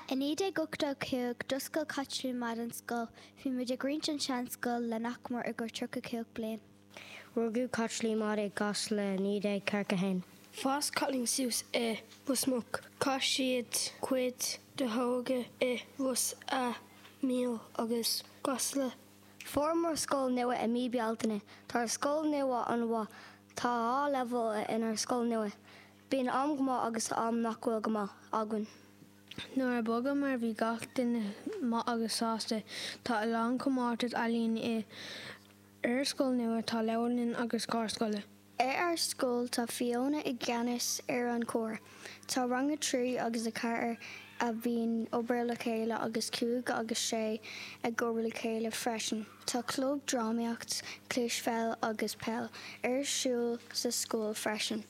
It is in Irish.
I 1985 d'oscail Caitlín Maude an scoil. Bhí muid ag roinnt an sean-scoil le nach mór i gcomhair 35 bliain. Rugadh Caitlín Maude i gCasla i 1941. Fás Caitlín suas i Ros Muc. Chaith siad cuid de hóige i Ros a' Mhíl agus gCasla. Fuaireamar scoil nua i mí Bealtaine. Tá ár scoil nua an-mhaith. Tá 2 leibhéal inár scoil nua. Bíonn am go maith agus am nach bhfuil go maith againn. Nuair a bhogamar bhí gach duine maith agus sásta. Tá a lán comórtas ealaíon i ár scoil nua, tá leabharlann agus carr scoile. Ar ár scoil tá Fiona i gceannas ar an cór. Tá rang 3 agus 4 a bhíonn obair le chéile agus 5 agus 6 ag obair le chéile freisin. Tá club drámaíocht, cispheil agus peil ar siúl sa scoil freisin.